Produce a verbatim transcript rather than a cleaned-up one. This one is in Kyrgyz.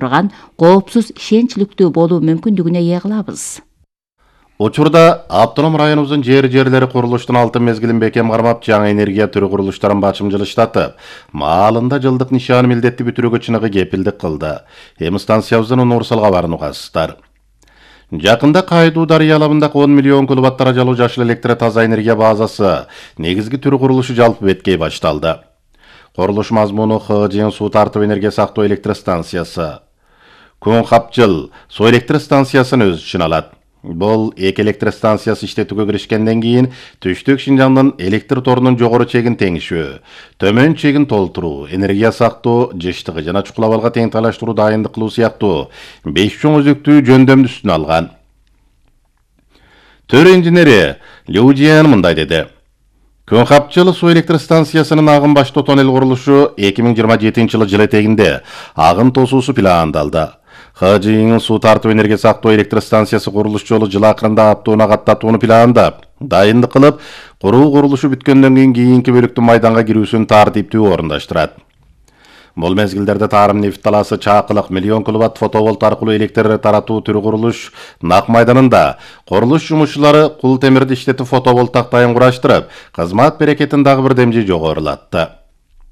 турган коопсуз, ишенчликтүү болуу мүмкүндүгүнө ээ кылабыз. Учурда автоном районубуздун жер-жерлери курулуштун алтын мезгилин бекем кармап, жаңы энергия түрү курулуштарын бачым жылыштатып, маалында жылдык нишан милдетти бүтүрүүгө чыныгы кепилдик кылды. Эми станциябыздын универсалга барын угасыздар. Жакында Кайдуу дарыя алабындагы он миллион киловатт жалуу жашыл электр таза энергия базасы негизги түрү курулушу жалпы беткей башталды. Курулуш мазмуну Х Ж суу тартып энергия сактоо электр станциясы. Күн капчыл суу электр станциясын өз ичине алат. Бул эки электр станциясы иштетүүгө киришкенден кийин Түштүк Шинжаңдын электр торунун жогору чегин теңишүү, төмөн чегин толтуруу, энергия сактоо, жыштыгы жана чукул абалга тең талаштыруу дайындык кылуу сыяктуу беш чоң өзүктүү жөндөмдү үстүнө алган. Төр инженери Лючиан мындай деди. Күн капчыл суу электр станциясынын агым баштоо тоннел курулушу эки миң жыйырма жетинчи жылы жыл этегинде агым тосуусу пландалды. Х Ж суу тартып энергия сактоо электр станциясы курулуш жолу жыл акырында аптууна каттатууну пландап, дайындык кылып, куруу курулушу бүткөндөн кийин кийинки бөлүктүн майданга кирүүсүн тартиптүү орундаштырат. Бул мезгилдерде Тарым нефт талаасы чакылык миллион киловатт фотоволт аркылуу электр таратуу түрү курулуш Нак майданында курулуш жумушчулары кул темирди иштетип фотоволт тактайын кураштырып, кызмат берекетин дагы бир демжи жогорулатты.